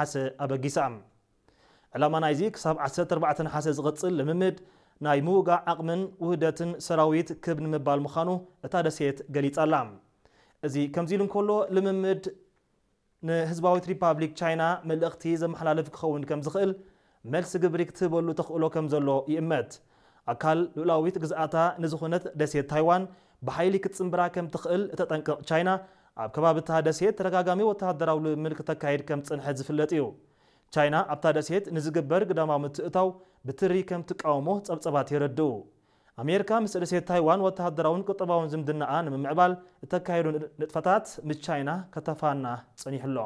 ነሓሰ ኣበጊሳ። ዕላማ ናይዚ ክሳብ ዓሰርተ ኣርባዕተ ነሓሰ ዝቕጽል ልምምድ ናይ ምውጋእ ዓቕምን ውህደትን ሰራዊት ክብ ንምባል ምዃኑ እታ ደሴት ገሊጻ ኣላ። እዚ ከምዚ ኢሉ እንከሎ፣ ልምምድ ንህዝባዊት ሪፓብሊክ ቻይና መልእኽቲ ዘመሓላልፍ ክኸውን ከም ዝኽእል መልሲ ግብሪ ክትህበሉ ተኽእሎ ከም ዘሎ ይእመት። ኣካል ልኡላዊት ግዝኣታ ንዝኾነት ደሴት ታይዋን ብሓይሊ ክትጽንብራ ከም ትኽእል እተጠንቅቕ ቻይና፣ ኣብ ከባቢ እታ ደሴት ተደጋጋሚ ወተሃደራዊ ልምምድ ክተካይድ ከም ዝጸንሐት ዝፍለጥ እዩ። ቻይና ኣብታ ደሴት ንዝግበር ግዳማዊ ምትእታው ብትሪ ከም ትቃወሞ ጸብጸባት የረድኡ። ኣሜሪካ ምስ ደሴት ታይዋን ወተሃደራውን ቁጠባውን ዝምድናኣ ንምምዕባል እተካየዱ ንጥፈታት ምስ ቻይና ከተፋና ጸኒሑ ኣሎ።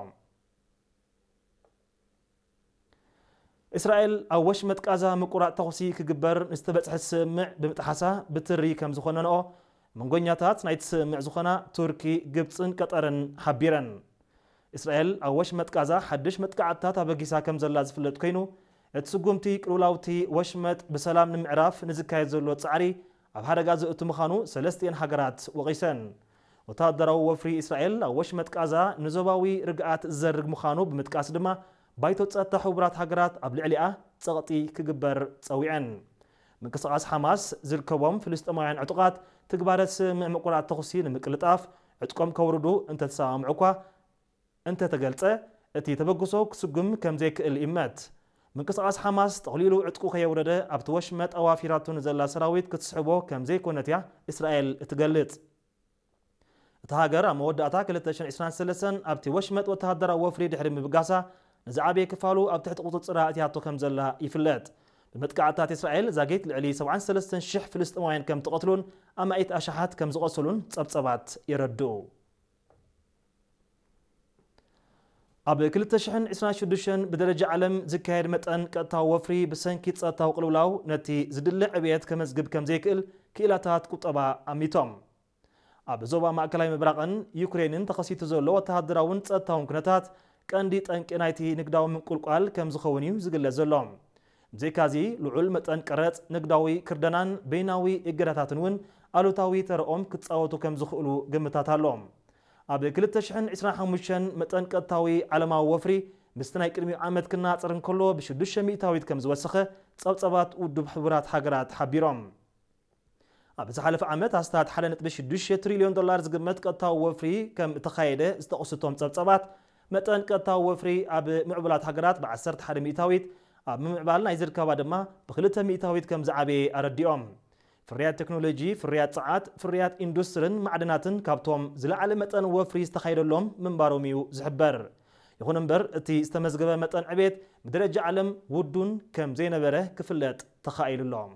እስራኤል ኣብ ወሽመጥ ቃዛ ምቁራጽ ተኹሲ ክግበር ንዝተበጽሐ ስምምዕ ብምጥሓሳ ብትሪ ከም ዝኾነንኦ መንጎኛታት ናይቲ ስምምዕ ዝኾና ቱርኪ፣ ግብጽን ቀጠርን ሓቢረን። እስራኤል ኣብ ወሽመጥ ቃዛ ሓድሽ መጥቃዕትታት ኣበጊሳ ከም ዘላ ዝፍለጥ ኮይኑ፣ እቲ ስጉምቲ ቅልውላውቲ ወሽመጥ ብሰላም ንምዕራፍ ንዝካየድ ዘሎ ጻዕሪ ኣብ ሓደጋ ዘእቱ ምዃኑ ሰለስቲኤን ሃገራት ወቒሰን። ወተሃደራዊ ወፍሪ እስራኤል ኣብ ወሽመጥ ቃዛ ንዞባዊ ርግኣት ዝዘርግ ምዃኑ ብምጥቃስ ድማ፣ ባይቶ ጸጥታ ሕቡራት ሃገራት ኣብ ልዕሊኣ ጸቕጢ ክግበር ጸዊዐን። ምንቅስቓስ ሓማስ ዝርከቦም ፍልስጤማውያን ዕጡቓት ትግባረ ስምምዕ ምቁራጽ ተኹሲ ንምቅልጣፍ ዕጥቆም ከውርዱ እንተተሰማምዑ እኳ እንተተገልጸ፣ እቲ ተበግሶ ክስጉም ከም ዘይክእል ይእመት። ምንቅስቓስ ሓማስ ጠቕሊሉ ዕጥቁ ከየውረደ ኣብቲ ወሽመጥ ኣዋፊራቱ ንዘላ ሰራዊት ክትስሕቦ ከም ዘይኮነት እያ እስራኤል እትገልጽ። እታ ሃገር ኣብ መወዳእታ ክልተ ሽሕን ዕስራን ሰለስተን ኣብቲ ወሽመጥ ወተሃደራዊ ወፍሪ ድሕሪ ምብጋሳ፣ ንዝዓበየ ክፋሉ ኣብ ትሕቲ ቁጽጽራ ኣእትያቶ ከም ዘላ ይፍለጥ። ብመጥቃዕትታት እስራኤል ዛጊት ልዕሊ ሰብዓን ሰለስተን ሽሕ ፍልስጤማውያን ከም ትቐትሉን ኣማኢት ኣሽሓት ከም ዝቖሰሉን ጸብጸባት የረድኡ። ኣብ ክልተ ሽሕን ዕስራን ሽዱሽተን ብደረጃ ዓለም ዝካየድ መጠን ቀጥታዊ ወፍሪ ብሰንኪ ጸጥታዊ ቅልውላው ነቲ ዝድለ ዕብየት ከመዝግብ ከም ዘይክእል ክኢላታት ቁጠባ ኣሚቶም። ኣብ ዞባ ማእከላይ ምብራቕን ዩክሬንን ተኸሲቱ ዘሎ ወተሃደራውን ጸጥታውን ኩነታት ቀንዲ ጠንቂ ናይቲ ንግዳዊ ምንቁልቋል ከም ዝኸውን እዩ ዝግለጽ ዘሎ። ብዘይካዚ፣ ልዑል መጠን ቀረጽ፣ ንግዳዊ ክርደናን በይናዊ እገዳታትን እውን ኣሉታዊ ተረኦም ክጻወቱ ከም ዝኽእሉ ግምታት ኣሎ። ኣብ ክልተ ሽሕን ዕስራን ሓሙሽተን መጠን ቀጥታዊ ዓለማዊ ወፍሪ ምስቲ ናይ ቅድሚኡ ዓመት ክነጻጸር እንከሎ ብሽዱሽተ ሚእታዊት ከም ዝወሰኸ ጸብጻባት ውድብ ሕቡራት ሃገራት ሓቢሮም። ኣብ ዝሓለፈ ዓመት ኣስታት ሓደ ነጥቢ ሽዱሽተ ትሪልዮን ዶላር ዝግመት ቀጥታዊ ወፍሪ ከም እተኻየደ ዝጠቕሱ እቶም ጸብጻባት፣ መጠን ቀጥታዊ ወፍሪ ኣብ ምዕቡላት ሃገራት ብዓሰርተ ሓደ ሚእታዊት፣ ኣብ ምምዕባል ናይ ዝርከባ ድማ ብክልተ ሚእታዊት ከም ዝዓበየ ኣረዲኦም። ፍርያት ቴክኖሎጂ፣ ፍርያት ጸዓት፣ ፍርያት ኢንዱስትርን ማዕድናትን ካብቶም ዝለዓለ መጠን ወፍሪ ዝተኻየደሎም ምንባሮም እዩ ዝሕበር። ይኹን እምበር፣ እቲ ዝተመዝገበ መጠን ዕቤት ብደረጃ ዓለም ውዱን ከም ዘይነበረ ክፍለጥ ተኻኢሉ ኣሎ።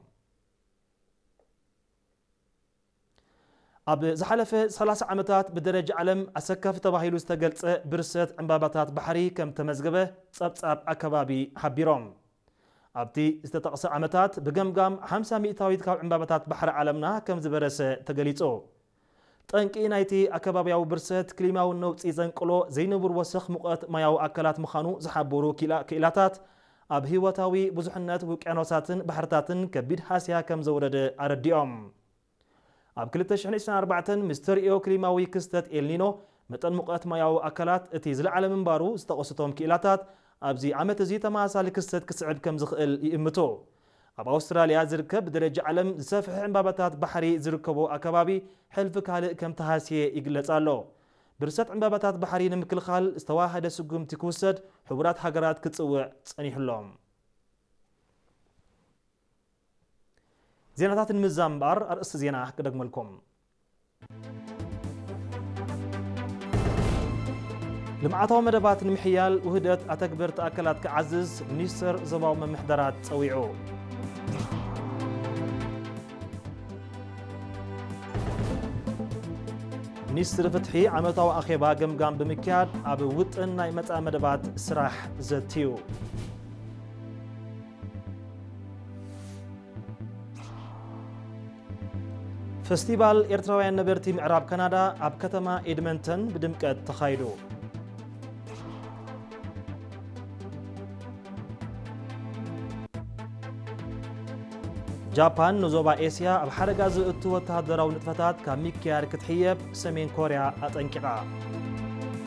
ኣብ ዝሓለፈ ሰላሳ ዓመታት ብደረጃ ዓለም ኣሰካፊ ተባሂሉ ዝተገልጸ ብርሰት ዕምባባታት ባሕሪ ከም ተመዝገበ ጸብጻብ ኣከባቢ ሓቢሮም። ኣብቲ ዝተጠቕሰ ዓመታት ብገምጋም ሓምሳ ሚእታዊት ካብ ዕምባባታት ባሕሪ ዓለምና ከም ዝበረሰ ተገሊጹ። ጠንቂ ናይቲ ኣከባብያዊ ብርሰት ክሊማዊ ነውጺ ዘንቅሎ ዘይንቡር ወሰኽ ሙቐት ማያዊ ኣካላት ምዃኑ ዝሓበሩ ክኢላ-፣ ክኢላታት፣ ኣብ ህይወታዊ ብዙሕነት ውቅያኖሳትን ባሕርታትን ከቢድ ሃስያ ከም ዘውረደ ኣረዲኦም። ኣብ ክልተ ሽሕን ዕስራን ኣርባዕተን ምስ ተርእዮ ክሊማዊ ክስተት ኤልኒኖ፣ መጠን ሙቐት ማያዊ ኣካላት እቲ ዝለዓለ ምንባሩ ዝጠቐሱ እቶም ክኢላታት፣ ኣብዚ ዓመት እዚ ተመሳሳሊ ክስተት ክስዕብ ከም ዝኽእል ይእምቱ። ኣብ ኣውስትራልያ ዝርከብ ብደረጃ ዓለም ዝሰፍሐ ዕምባባታት ባሕሪ ዝርከቦ ኣከባቢ፣ ሕልፊ ካልእ ከም ተሃስየ ይግለጽ ኣሎ። ብርሰት ዕምባባታት ባሕሪ ንምክልኻል ዝተዋሃደ ስጉምቲ ክውሰድ ሕቡራት ሃገራት ክጽውዕ ጸኒሑ ኣሎ። ዜናታት ንምዝዛም እምበኣር ኣርእስቲ ዜና ክደግመልኩም። ልምዓታዊ መደባት ንምሕያል ውህደት ኣተግበርቲ ኣካላት ክዓዝዝ ሚኒስተር ዞባዊ ምምሕዳራት ጸዊዑ። ሚኒስትሪ ፍትሒ ዓመታዊ ኣኼባ ገምጋም ብምክያድ ኣብ ውጥን ናይ መጻኢ መደባት ስራሕ ዘትዩ። ፈስቲቫል ኤርትራውያን ነበርቲ ምዕራብ ካናዳ ኣብ ከተማ ኤድመንተን ብድምቀት ተኻይዱ። ጃፓን ንዞባ ኤስያ ኣብ ሓደጋ ዘእቱ ወተሃደራዊ ንጥፈታት ካብ ምክያድ ክትሕየብ ሰሜን ኮርያ ኣጠንቂቓ።